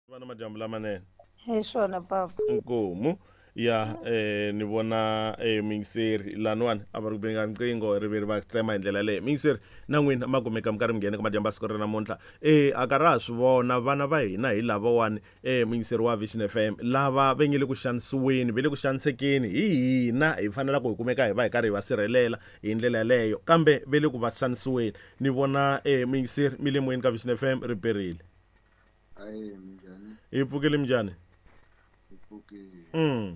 Va na madyambu lamanene. Hi swona papa. Inkomu ya ni vona muyingiseri laniwani a va ri ku beni ka riqingho ri ve ri va tsema hi ndlela yaleyo. Muyingiseri na n'wina ma kumeka mi karhi mi nghena ka madyambu ya siku ra namuntlha. A ka ra ha swi vona vana va hina hi lavawani muyingiseri wa Vision FM lava va nge le ku xanisiweni ve le ku xanisekeni hi hina hi fanelaka hi kumeka hi va hi karhi hi va sirhelela hi ndlela yaleyo kambe ve le ku va xanisiweni. Ni vona muyingiseri mi le moyeni ka Vision FM ri perile. Aye, minjhani? Hi pfukile minjhani? Hi pfukile.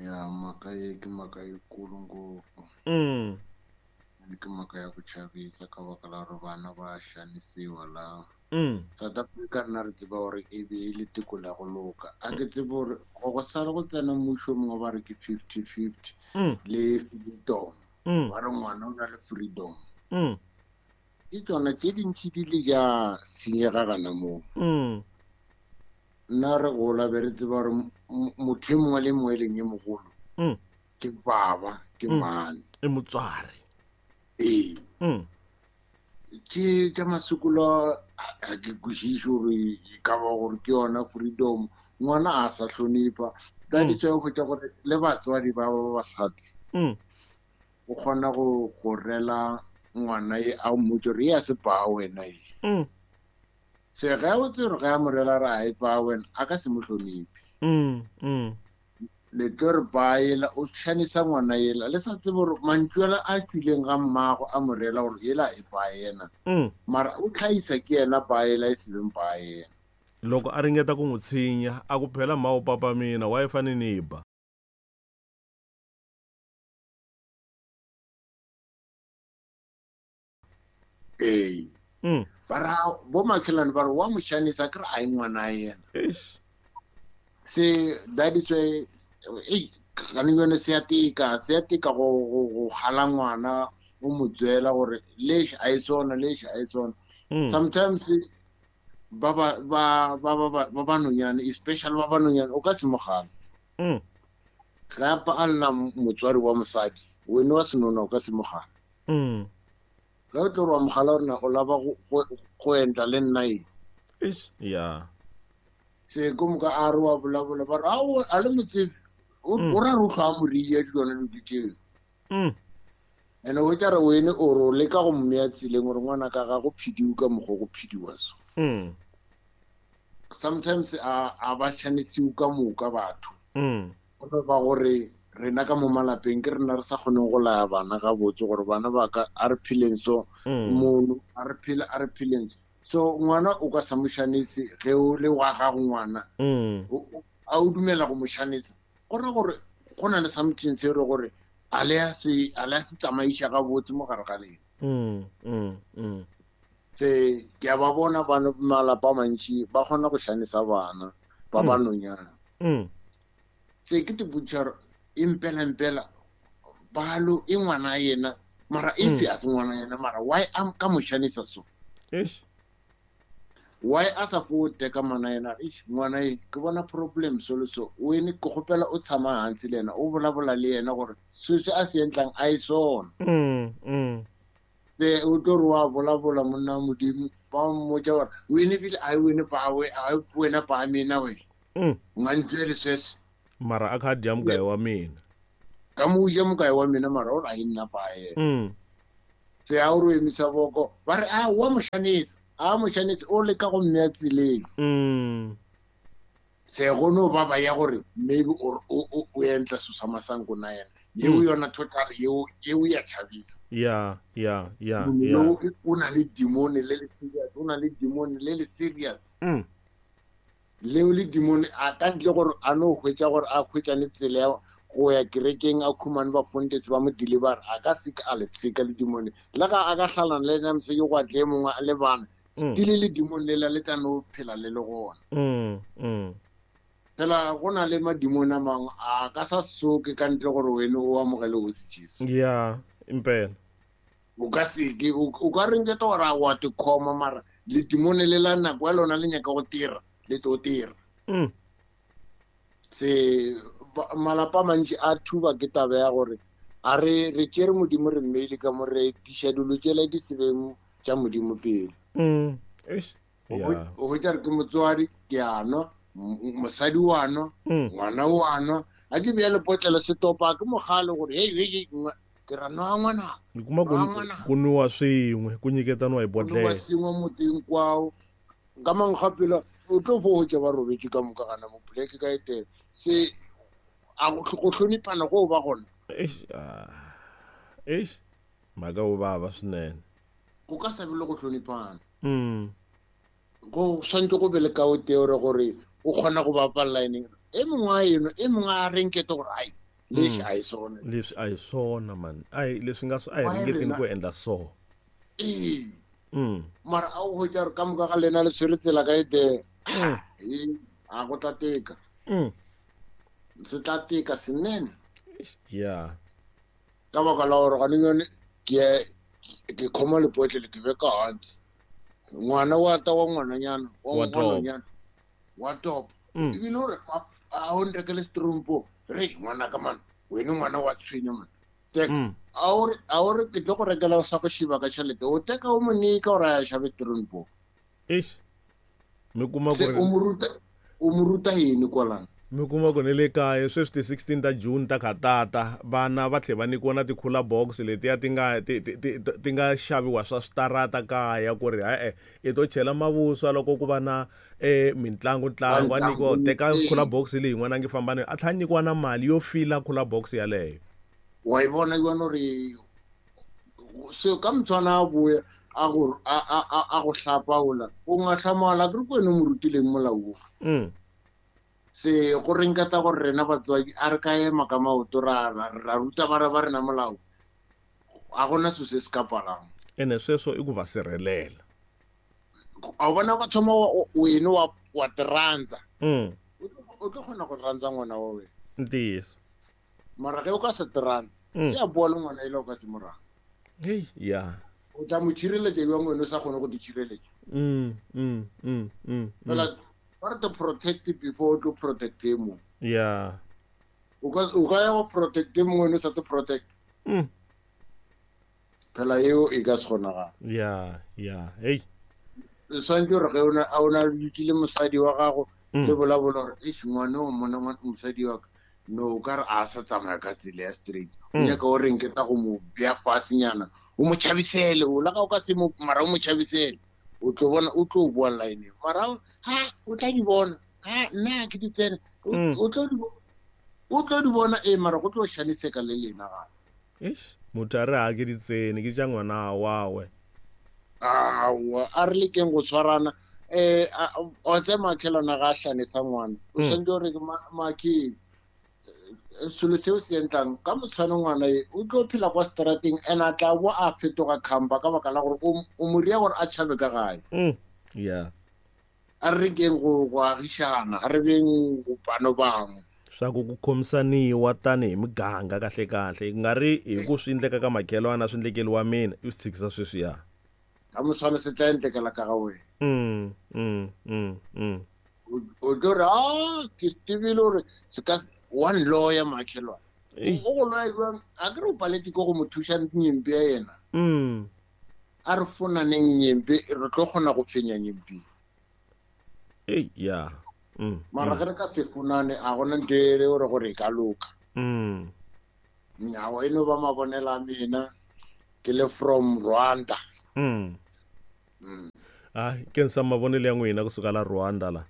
Ya mhaka ye ki mhaka yikulu ngopfu. Ki mhaka ya ku chavisa ka baka la gore bana ba xanisiwa la. South Africa rena re tseba gore e be e le tiko la go loka. A ke tsebe gore go sala go tsena mmušo mongwe ba re ke 50-50 le freedom. Ba re ngwana o na le freedom. Ke tsona tše dintši di le ja senyega gana moo. Nna re gola be re tseba gore motho e mongwe le mongwe e leng e mogolo ke baba, ke mane. E motswari. Ee. Tše tša masokolo a ke kwešiše gore e ka ba gore ke yona freedom. Ngwana a sa hlonipha. That is why o hwetša gore le batswadi ba ba basadi o kgona go rela ngwana e a mmotse gore e a se paa wena e. Se ge o tsere ge a mo rela re a e paa wena, a ka se mo hloniphe. Le tlo re paa ela, o tšhanisa ngwana ela. Le sa tsebe gore mantšu ala a tšwileng ga mmago a mo rela gore ela e paa yena. Mara o tlhaisa ke yena paa ela e se beng paa yena. Loko a ringeta ku n'wi tshinya, a ku phela mma o papa mina, wa e fane ni ba. Ee. Ba ra bo makhelwane ba re wa mo xanisa ke re a e ngwana yena. Eish. Se that is why ei gane yone se ya tika, se ya tika go gala ngwana o mo tswela gore lexi a e sona, lexi a e sona. Sometimes ba ba ba ba ba ba ba ba nonyane, especially ba ba nonyane o ka se mo gala. Gape a nna motswari wa mosadi, wena wa senona o ka se mo gala. Ge o tlo re wa mogala gore na o lava go entla le nna eng? Eish, ya. Se ko moka a re wa bolabola ba re ao a le motsebe o ra re o tlhwa a moria dilwana dilo tseo. Ene o tla re wene o re o leka go mmea tseleng gore ngwana ka ga go phediwe ka mokgwa go phediwa so. Sometimes a ba tshwanetse ka moka batho. Go ba gore rena ka mo malapeng ke rena re sa kgoneng go laya bana gabotse gore bana ba ka a re pheleng so, mono a re phele, a re pheleng so. So ngwana o ka sa mo xanise ge o le wa gago ngwana. A o dumela go mo xanisa. Go ra gore go na le something se re gore a le a se, a le a se tsamaiša gabotse mo gare ga lena. Se ke a ba bona bana malapa a mantši ba kgona go xanisa bana ba ba nonyana. Se ke te botša gore e mpela mpela balo e ngwana yena mara e fe a se ngwana yena mara why a ka mo xanisa so? Eish. Why a sa fo teka ngwana yena? Eish, ngwana e ke bona problem so le so. Wene ke kgopela o tshama hansi le yena, o bolabola le yena gore se se a se entlang a e sona. Be o tlo re wa bolabola monna wa Modimo, ba mmotša gore wene bile a wene pa we, a wena pa mina we. Nga ntswele sweswo. Mara a kha dya mugayo wa mina. Ka mo ja mugayo wa mina mara o ra nna pa yena. Se a o re emisa boko, ba re a wa mo xanisa, a mo xanisa o leka go mmea tseleng. Se go no ba ba ya gore maybe o entla so sa masango na yena. Yeo yona total yeo, yeo ya chavisa. Ya, ya, ya, No, ya. o na le demon le le serious, o na le demon le le serious. Leo le demon a ka ntle gore a no hwetša gore a hwetšane tsela ya go ya kerekeng a khumane ba fontese ba mo deliver, a ka se a le tsheka le demon. Le ga a ka hlalana le yena mosadi go atle e mongwe a le bana, still le demon le la le tla no phela le le gona. Phela go na le madimone a mangwe a ka sa soke ka ntle gore wena o amogele o se Jesu. Ya, impela. O ka se ke, o ka reng ke gore a wa te khoma mara le demone le la nako ya lona le nyaka go tira, le tlo tira. Se malapa a mantši a thuba ke taba ya gore a re tšere Modimo re mmeile ka mo re tiša dilo tšela di se beng tša Modimo pele. Eish. O hwetša re ke motswadi ke a nwa, mosadi wa nwa, ngwana wa nwa. A ke bea lepotlelo setopa ke mogale gore hei hei ke ra nwa ngwana. Ni kuma ku nwiwa swin'we ku nyiketaniwa hi bodlela. Ku nwiwa swin'we mutini hinkwawo. Ka mankgapela o tlo fo hwetša ba robetše ka moka gana mo poleke ka etela. Se a go hloniphana go ba gona. Eish, eish, mhaka wo vava swinene. Go ka sa be le go hloniphana. Go swantse go be le kao tee gore gore o kgona go bapalla ene. E mongwe a eno, e mongwe a renkete gore ai, leswi a hi swona. Leswi a hi swona man. Ai leswi nga a hi ringeteni ku endla so. Ee. Mara a o hwetša gore ka moka ga lena le tshwere tsela ka e tee. A go tla teka. Se tla teka senene. Yeah. Ka baka la gore gane yone ke khoma lepotlele ke beka hansi. Ngwana wa ta wa ngwananyana, wa ngwananyana. Wa top. Ebile gore a o nrekele setrompo, re ngwana ka man, wena ngwana wa tshwenya man. Teka a o re ke tlo go rekela sa go shiba ka tšhelete, o teka o mo nika gore a shabe setrompo. Eish. Mi kuma ku o mo ruta yini kwalano? Mi kuma ku ni le kaya sweswi ti 16 ta June ta khatata vana va tlhe va nyikiwa na ti-cooler box letiya ti nga ti nga xaviwa swa switarata kaya ku ri e-e i to chela mavuswa loko ku va na mitlangu ntlangu a nyikiwa teka cooler box leyi n'wana a nge famba na a tlhela a nyikiwa na mali yo fila cooler box yaleyo. Wa yi vona yona ri se ka motshwana a boya a go a go hlapaola o nga hlamala ke re kwena o mo rutileng molao o. Se go renketa gore rena batswadi a re ka ema ka maoto ra ruta bara ba rena molao, a gona selo se se ka palang. Ene sweswo i ku va sirhelela. A bona ka thoma wena wa tirhandza. O tlo kgona go rhandza ngwana wa wena. Ntiyiso. Mara ge o ka se tirhandza, se a boa le ngwana ile o ka se mo rhandza. Hey, yeah. O tla mo tshireletša jwang wena o sa kgone go di tshireletša? Fela ba re to protect before to protect him. Yeah. O ka ya go protect him wena o sa te protect. Phela eo e ka se kgonagala. Yeah, yeah. Hey. Swantse gore ge o na le mosadi wa gago le bolabola gore eish ngwana o mona mosadi wa ka no o ka re a sa tsamaya ka tsela ya straight. O nyaka o reng ke ta go mo bea fasenyana o mo tšhabisele o la ga o ka se mo mara o mo tšhabisele o tlo bona o tlo boa line mara ha o tla di bona ha nna ke di tsene o tlo di bona e mara go tlo shaniseka le lena ga. Eish motho a re ha ke di tsene ke tša ngwana wawe. Awa a re lekeng go tshwarana o tse makhelwana ga a hlanisa ngwana o santse gore makhe selo seo se entlang ka motshwane ngwana e o tlo phela kwa strateng and a tla bo a fetoga khampa ka baka la gore o mo ria gore a tšhabe ka gae. Yeah. A re rekeng go agišana, a re beng go pano bangwe. Swa ku khomisaniwa tanihi miganga kahle kahle ku nga ri hi ku swi endleka ka makhelwana swi endlekeli wa mina i swi tshikisa sweswiya. Ka motshwane se tla endlekela ka ga wena. O tlo re a ke se tsebile gore se ka one lawyer makhelwana. O go lawyer jwang a ke re o paletse ke go mo thuša nyempe ya yena. A re fonaneng nyempe re tlo kgona go fenya nyempe. Ei, yeah. Mara ge re ka se fonane a gona ntho e re gore gore e ka loka. Nnyawa e no ba mabonela a mina ke le from Rwanda. Ah, ke nsa mavonelo ya n'wina kusuka la Rwanda la.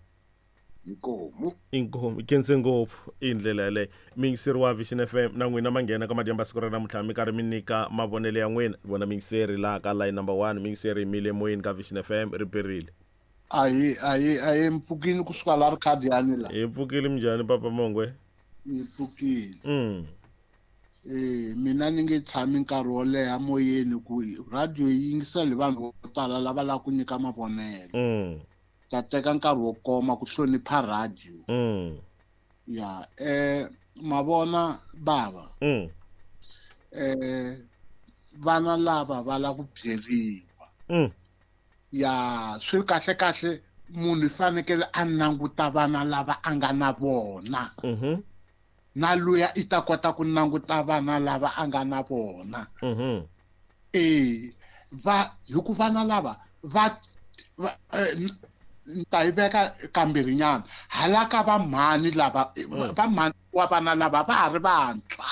Inkomu. Inkomu kense ngopfu i ndlela yaleyo. Miyingiseri wa Vision FM na n'wina ma nghena ka madyambu siku ra namuntlha mi karhi mi nyika mavonelo ya n'wina. Vona miyingiseri laha ka line number 1 miyingiseri yimile emoyeni ka Vision FM ri perile. Ayi mpfukile kusuka la Rkhadiani la. Hi pfukile minjhani papa Mongwe? Hi pfukile. Mina ni nge tshami nkarhi wo leha moyeni ku radio yi yingisela hi vanhu vo tala lava lava ku nyika mavonelo. Ta teka nkarhi wo koma ku hlonipha radio. Ya mavona bava. Vana lava va lava ku byeriwa. Ya swi kahle kahle munhu i fanekele a languta vana lava a nga na vona. Na luya i ta kota ku languta vana lava a nga na vona. Va hi ku vana lava va Ni ta yi veka kambirhinyana hala ka vamhani lava, vamhani wa vana lava va ha ri vantshwa.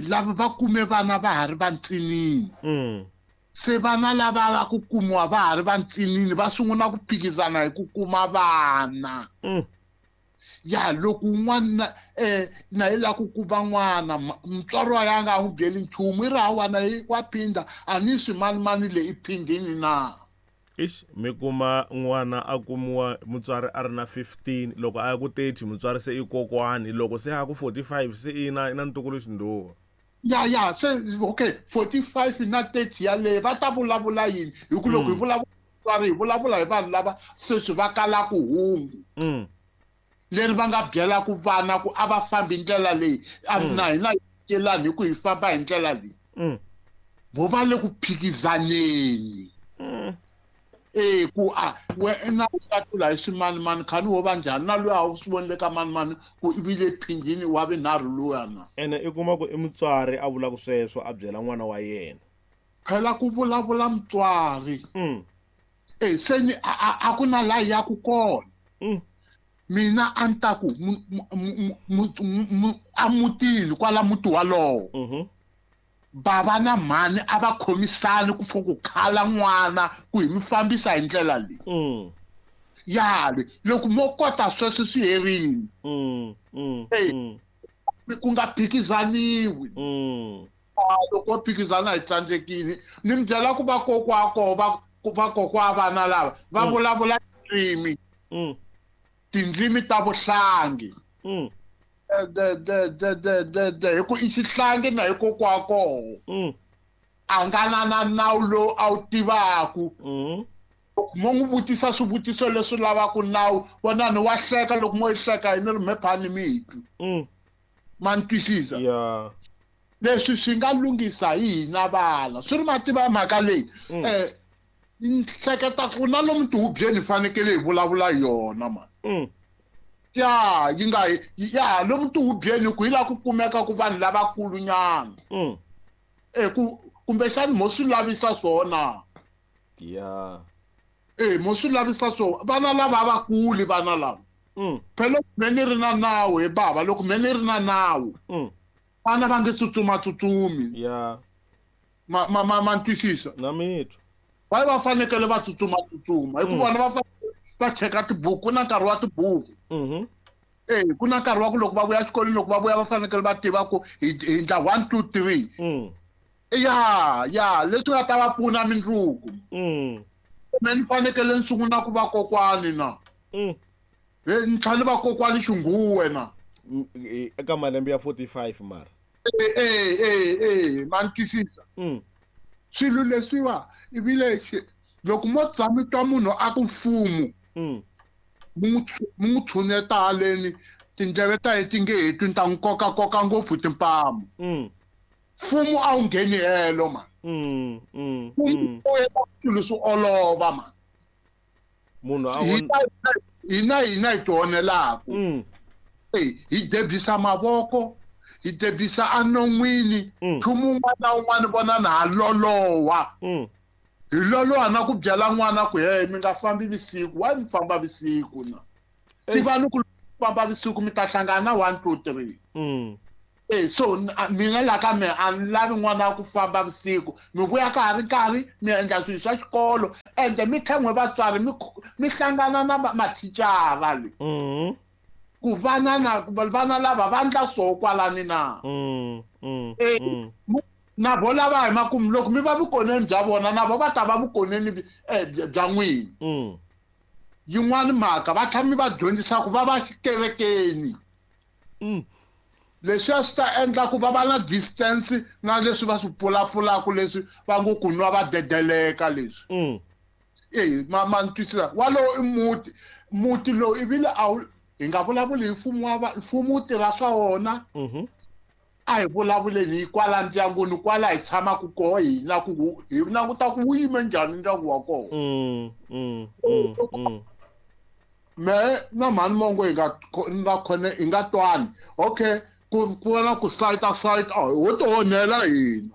Lava va kume vana va ha ri vantsinini. Se vana lava va ku kumiwa va ha ri vantsinini va sungula ku phikizana hi ku kuma vana. Ya loko un'wana na yi lava ku kuma n'wana, mutswari wa yena a nga n'wi byeli nchumu, i ri hawana wa phindha a ni swi manimani leyi i phindhini na. Ix, mi kuma n'wana a kumiwa mutswari a ri na 15, loko a ya ku 30 mutswari se i kokwani, loko se a ku 45 se i na ntukulu xindhuwa. Ya se okay, 45 na 30 yaleyo va ta vulavula yini? Hi ku loko hi vulavula mutswari hi vulavula hi vanhu lava sweswi va kalaka hungu. Leri va nga byelaka vana ku a va fambi ndlela leyi, a na hina hi celani hi ku hi famba hi ndlela leyi. Vo va le ku phikizaneni. Ku a wena u ta tlula hi swimanimani khani wo va njhani na loyi a wu swi vonile ka manimani ku i vile phindhini wa vinharhu luya na. Ene i kuma ku i mutswari a vulaka sweswo a byela n'wana wa yena. Phela ku vulavula mutswari. Se ni a ku na laha ya ku kona. Mina a ni ta ku a mutini kwala muti walowo. Bava na mhani a va khomisani ku fo ku khala n'wana ku hi mi fambisa hi ndlela leyi. Ya le loko mo kota sweswo swi herini. Ku nga phikizaniwi. Loko phikizana hi tsandzekile ni mi byela ku vakokwa koho vakokwa vana lava va vulavula tindzimi. Tindzimi ta vuhlangi. De hi ku i xihlangi na hi kokwa koho. A nga na nawu lowu a wu tivaku. Mo n'wi vutisa swivutiso leswi lavaka nawu, vonani wa hleka loko mo yi hleka hi ni ri mephani mi twi. Ma ni twisisa? Leswi swi nga lunghisa hi hina vana. Swi ri mativa mhaka leyi. Ni hleketa ku na lomu tihubyeni hi fanekele hi vulavula yona mani. Ya yi nga ya lomu tihubyeni ku hi laha ku kumeka ku vanhu lavakulu nyana. Ku kumbexani mo swi lavisa swona. Ya. Mo swi lavisa swona. Vana lava a va kuli vana lava. Phela loko me ni ri na nawu he bava, loko me ni ri na nawu. Vana va nge tsutsuma tsutsumi. Ya. Ma twisisa? Na mitwa. Va fanekele va tsutsuma tsutsuma. Hi ku vona va fanekele va cheka tibuku, ku na nkarhi wa tibuku. Ku na nkarhi wa ku loko va vuya exikolweni, loko va vuya va fanekele va tiva ku hi endla 1 2 3. Ya, leswi nga ta va pfuna mindzuku. Me ni fanekele ni sungula ku va kokwani na. Ni tlhela ni va kokwani xinghuwe na. Eka malembe ya 45 mara. Ma ni twisisa? Swilo leswiwa ivile loko mo tshama twa munhu a ku mfumo, mu n'wi tshuneta haleni, tindleve ta yena ti nge he twi, ni ta n'wi kokakoka ngopfu timpama. Mfumo a wu ngheni helo man. Mfumo wu endla swilo swi olova man. Munhu a hina hina hi tionelaka. Hi debyisa mavoko, hi debyisa enon'wini, nchumu wun'wana na wun'wana vonani ha loloha. Hi loloha na ku byela n'wana ku he mi nga fambi vusiku, why mi famba vusiku na? Tivani ku famba vusiku mi ta hlangana na 1 2 3. So mina la ka me a ni lavi n'wana ku famba vusiku, mi vuya ka ha ri nkarhi mi endla swilo swa xikolo, ende mi tlhela n'we vatswari mi hlangana na mathicara le. Ku vana na vana lava va endla swo kwalani na. Na vo lava hi makumu loko mi va vukoneni bya vona na vo va ta va vukoneni bya n'wina. Yin'wana mhaka va tlhela mi va dyondzisa ku va va xikerekeni. Leswi swi ta endla ku va va na distance na leswi va swi pfulapfulaka leswi va ngo ku nwa va dedeleka leswi. Ma ni twisisa? Walowo i muti, muti lowu ivile a wu hi nga vulavuli hi mfumo wa mfumo wu tirha swa wona. A hi vulavuleni hi kwala ndyangwini, kwala hi tshamaka koho hina ku hi languta ku wu yime njhani ndyangu wa kona. Me na mhani mongo hi nga na khone hi nga twani. Okay, ku na ku sayita sayita, ho ti onhela hina.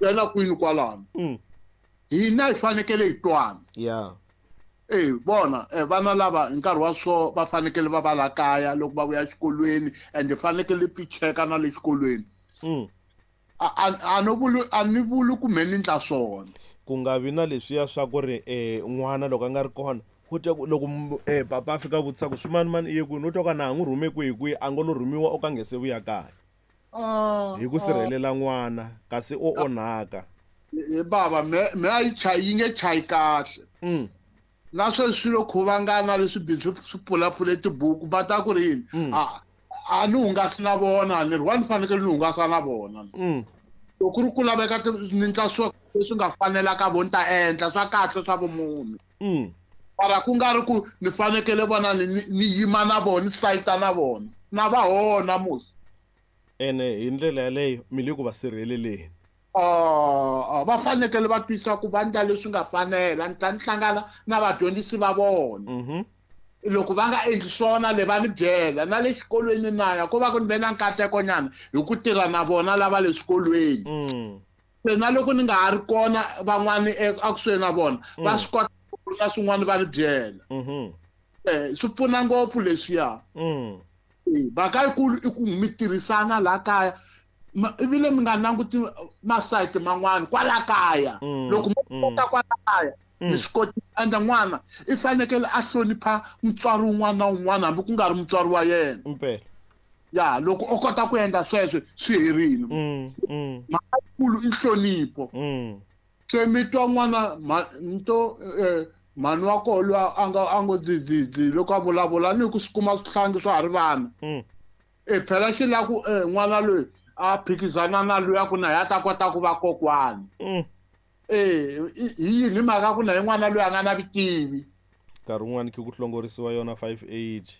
Yena kwini kwalano. Hina hi fanekele hi twana. Yeah. Vona vana lava hi nkarhi wa so va fanekele va va la kaya loko va vuya exikolweni and fanekele pi cheka na le xikolweni. A ni vuli ku me ni ndla swona. Ku nga vi na leswiya swa ku ri n'wana loko a nga ri kona u twa ku loko papa a fika vutisa ku swimanimani i ye kwini, u twa ku na ha n'wi rhume kwihi kwihi, a ngo lo rhumiwa o ka nge se vuya kaya. Hi ku sirhelela n'wana kasi o onhaka. Bava me a yi chayi yi nge chayi kahle. Na sweswi swilo khuvangana leswi bindzu swi pfulapfule tibuku va ta ku ri yini? A ni hungasi na vona ni ri wa ni fanekele ni hungasa na vona. Loko ku ri ku laveka ni ndla swo leswi nga fanelaka vo ni ta endla swa kahle swa vumunhu. Mara ku nga ri ku ni fanekele vona ni yima na vona ni sayita na vona na va hona musi. Ene hi ndlela yaleyo mi le ku va sirheleleni. Va fanekele va twisa ku va ndla leswi nga fanela, ni ta ni hlangana na vadyondzisi va vona. Loko va nga endli swona le va ni byela na le xikolweni na ya ko va ku ni ve na nkatekonyana hi ku tirha na vona lava le swikolweni. Se na loko ni nga ha ri kona van'wani ekusuhi na vona va swi kota ku na swin'wana va ni byela. Swi pfuna ngopfu leswiya. Mhaka yikulu i ku mi tirhisana laha kaya. Ivile mi nga languti masayiti man'wana kwala kaya. Loko mo kota kwala kaya mi swi koti endla n'wana i fanekele a hlonipha mutswari wun'wana na wun'wana hambi ku nga ri mutswari wa yena. Impela. Ya loko o kota ku endla sweswo swi herile. Mhaka yikulu i nhlonipho. Se mi twa n'wana nto mhani wa koho loyi a ngo dzidzi loko a vulavula ni ku swi kuma swihlangi swa ha ri vana. Phela xi lava ku n'wana loyi a phikizana na loyi a ku na ya ta kota ku va kokwani. Hi yini mhaka ku na hi n'wana loyi a nga na vutivi. Nkarhi wun'wani ku hlongorisiwa yona 5H.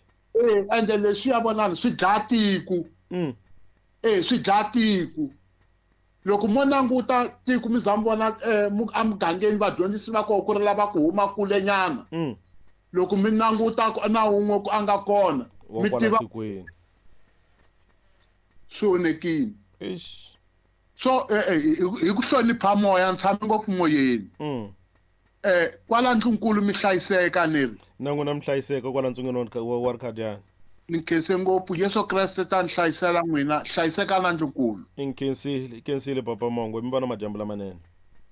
Ende leswi ya vonani swi dlaya tiko. Swi dlaya tiko. Loko mo languta tiko mi za mi vona emugangeni vadyondzisi va koho ku ri lava ku huma kulenyana. Loko mi languta na wun'we ku a nga kona mi tiva swi onhekile. So hi ku hlonipha moya ni tshame ngopfu moyeni. Kwala ndlunkulu mi hlayiseka ni ri. Na n'wina mi hlayiseka kwala ntsungeni wa Rikhadiyani. Ni nkhense ngopfu Yesu Kreste ta ni hlayisela n'wina, hlayiseka na ndlunkulu. I nkhensile Papa Mongwe, mi va na madyambu lamanene.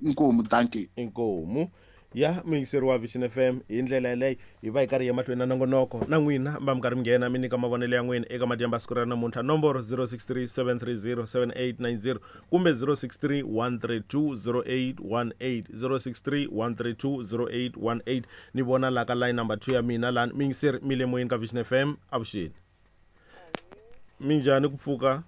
Inkomu, thank you. Inkomu. Ya muyingiseri wa Vision FM hi ndlela yaleyo hi va hi karhi hi ya mahlweni na nongonoko na n'wina va mi karhi mi nghena mi nyika mavonelo ya n'wina eka madyambu ya siku ra namuntlha. Nomboro 063 730 7890 kumbe 063 132 0818, 063 132 0818. Ni vona la ka line number 2 ya mina lani. Muyingiseri mi le moyeni ka Vision FM, avuxeni. Minjhani ku pfuka?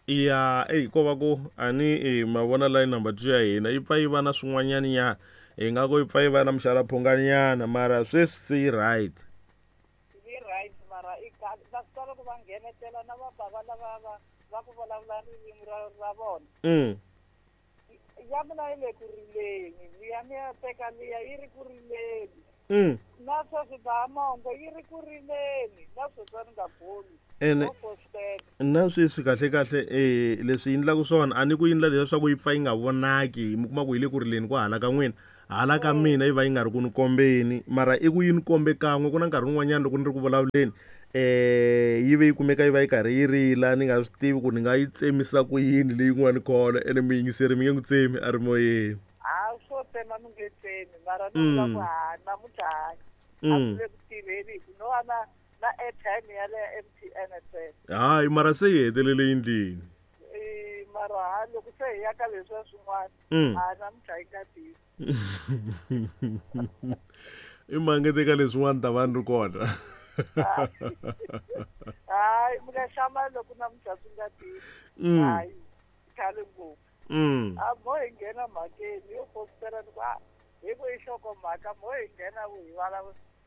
Ya ko va ku ani ma vona line number 2 ya hina yi pfa yi va na swin'wanyana nyana, hi nga ku yi pfa yi va na mixalaphunganyana, mara sweswi se yi right. Yi right, mara i va swi tala ku va nghenetela na vabava lava va ku vulavula ririmi ra vona. Ya mina yi le ku rileni, liya mi ya teka liya yi ri ku rileni. Na sweswi ba mongo yi ri ku rileni, na sweswi a ni nga boli. Ene na sweswi kahle kahle leswi endlaka swona a ni ku endla leswaku yi pfa yi nga vonaki, mi kuma ku yi le ku rileni ku hala ka n'wina, hala ka mina yi va yi nga ri ku ni kombeni, mara i ku yi ni kombe kan'we. Ku na nkarhi wun'wanyana loko ni ri ku vulavuleni yi ve yi kumeka yi va yi karhi yi rila, ni nga swi tivi ku ni nga yi tsemisa ku yini leyin'wani kholo, ene muyingiseri mi nge n'wi tsemi a ri moyeni. Ha swo tsema mi nge tsemi, mara ni vula ku ha namuntlha hayi a swi le ku tirheni hi ku no va na airtime ya le MTN ntsena. Hayi mara se yi hetelele yindlini. Mara ha loko se hi ya ka leswiya swin'wana, ha namuntlha yi nga tirhi. I mangete ka leswin'wana ta va ni ri kona. Hayi mi nga hlamali loko namuntlha swi nga tirhi. Hayi khale ngopfu. A mo hi nghena mhakeni yo postela ni ku hi ku i nhlokomhaka, mo hi nghena ku hi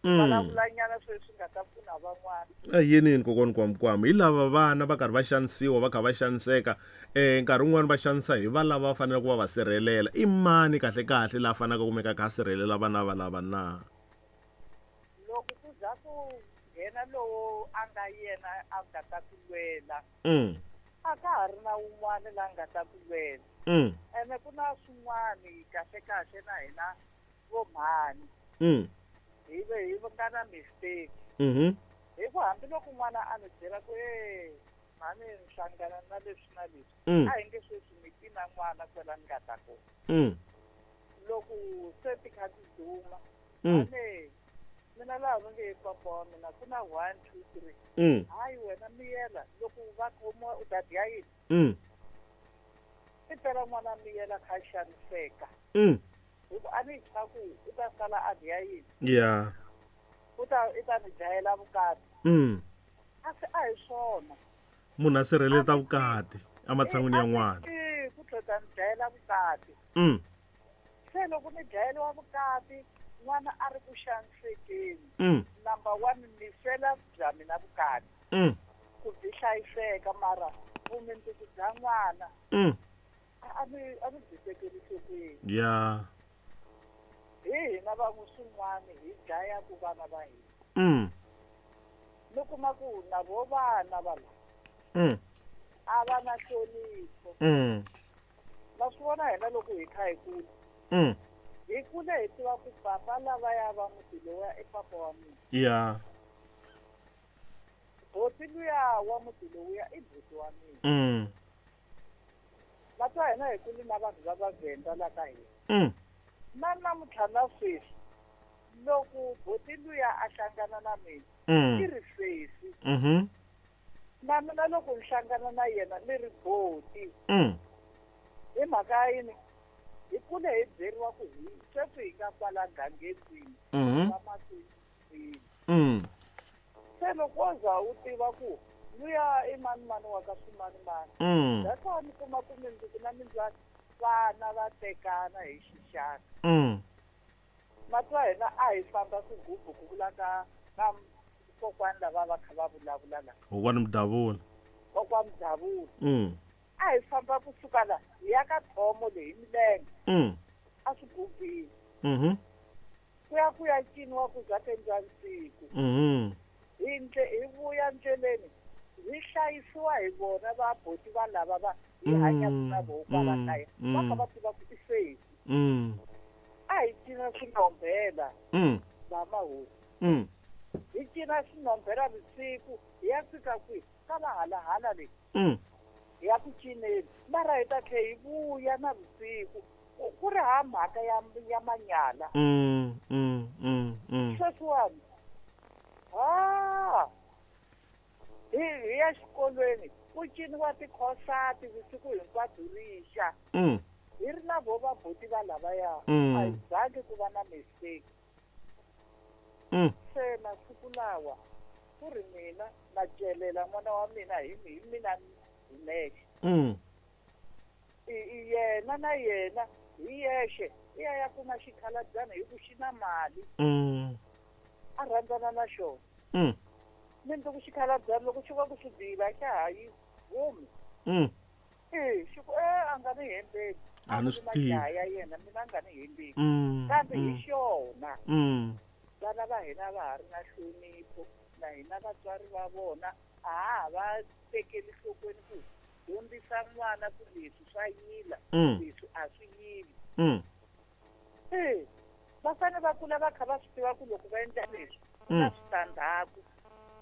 vulavulanyana sweswi nga ta pfuna van'wana. A yinini kokwani Kwamkwama, hi lava vana va karhi va xanisiwa, va kha va xaniseka, nkarhi wun'wani va xanisa hi va lava va faneleke ku va va sirhelela. I mani kahle kahle la faneleke ku kumeka a kha a sirhelela vana va lava na? Loko ku za ku nghena Yena lowo a nga yena a nga ta ku lwela. A ka ha ri na wun'wana la nga ta ku lwela. Ene ku na swin'wani kahle kahle na hina vo mhani. Hi ve hi nga na mistake. Hi ku hambiloko n'wana a ni byela ku e mhani ni hlangana na leswi na leswi. A hi nge sweswi mi ti na n'wana kwela ni nga ta kona. Loko se ti kha ti duma. Mhani mina laha va nge papa wa mina ku na 1 2 3. Hayi wena miyela loko va khomiwa u ta dya yini? I pela n'wana miyela kha xaniseka. Hi ku a ni tshwa ku u ta sala a dya yini? Yeah. U ta i ta ni dlayela vukati. A se a hi swona. Munhu a sirheleta vukati ematshan'wini ya n'wana. Ku tlhela ni dlayela vukati. Se loko ni dlayeriwa vukati n'wana a ri ku xanisekeni. Number 1 ni fela bya mina vukati. Ku byi hlayiseka mara vumundzuku bya n'wana. A ni byi tekeli enhlokweni. Yeah. Hi hina van'we swin'wana hi dlayaku vana va hina. Ni kuma ku na vo vana va la. A va na nhlonipho. Ma swi vona hina loko hi kha hi kula. Hi kule hi tiva ku papa lava ya va muti lowuya i papa wa mina. Yeah. Boti luya wa muti lowuya i buti wa mina. Vatwa hina hi kule na vanhu va Vavhenda la ka hina. Na namuntlha na sweswi loko boti luya a hlangana na mina i ri sesi. Na mina loko ni hlangana na yena ni ri boti. Hi mhaka yini? Hi kule hi byeriwa ku hi sweswi hi nga kwala gangeni va makwini. Se loko wo za u tiva ku luya i mani mani wa ka swimanimani. That's why ni kuma ku mindzuku na mindzwani vana va tekana hi xixaka. Matwa hina a hi famba swigubu ku vula ka kokwani lava va kha va vulavula la. Kokwani Mdavula. Kokwani Mdavula. A hi famba kusuka la hi ya ka thomo leyi milenge. A swigubini. Ku ya ciniwa ku za ku nsiku. Hi vuya ndleleni hi hlayisiwa hi vona va boti va lava va hi hanyaka na voho kwala kaya. Va kha va tiva ku i sesi. A hi cina swinombela va mahosi. Hi cina swinombela vusiku hi ya fika kwihi ka va halahala leyi. Hi ya ku cineni mara hi ta tlhe hi vuya na vusiku ku ri ha mhaka ya manyala. Sweswiwani hi ya xikolweni ku ciniwa tikhosati vusiku hinkwabyo rixa. Hi ri na vo vabuti va lavaya a hi zangi ku va na mistake. Se masiku lawa ku ri mina na celela n'wana wa mina hi mina hi nexe. Yena na yena hi yexe i ya ya kuma xikhalabyana hi ku xi na mali. A rhandzana na xona. Mindzuku xikhalabyana loko xi va ku xi diva xa ha yi humi. Xi ku a nga ni hembeli. A ni swi tivi. Ya yena mina a nga ni hembeli. Kambe hi xona. Vana va hina va ha ri na nhlonipho na hina vatswari va vona a ha va tekeli nhlokweni ku dyondzisa n'wana ku leswi swa yila leswi a swi yili. Va fanele va kula va kha va swi tiva ku loko va endla leswi ku na switandzhaku.